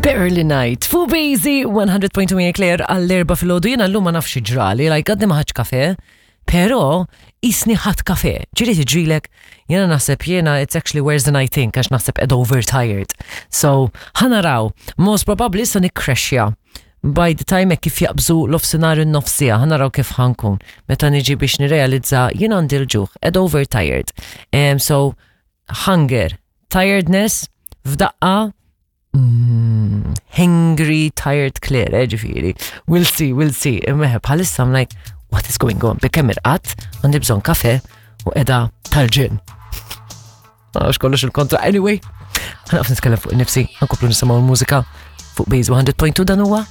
Barely Night. Fu Bazy 100.2 Mia Claire għall-erba fil-ħodu jena l-lum ma nafx ġrali, like għadni maħħaċ kafe, pero jisni ħadd kafe. Ġiri tiġrilek, jena naħseb jena it's actually worse than I think, għax naħseb ed overtired. So, ħanaraw, most probably sa nikkrexja. By the time hekk kif jaqbżu l-ofsinhar in-nofsija, ħanaraw kif ħankun. Meta niġi biex nirrealizza jien għandi l-ġuħ, ed overtired. Um, so, hunger, tiredness, f'daqqa, mm, hangry, tired, clear, eh, ġifiri. We'll see, we'll see. Imma bħalissa I'm like, what is going on? Bikemm irqat, għandi bżon kafe u edha tal-ġin. Għax kollox il-kontra. Anyway, ħanaqf nitkellem fuq nifsi, nkomplu nisimgħu l-mużika fuq Base 100.2 dan huwa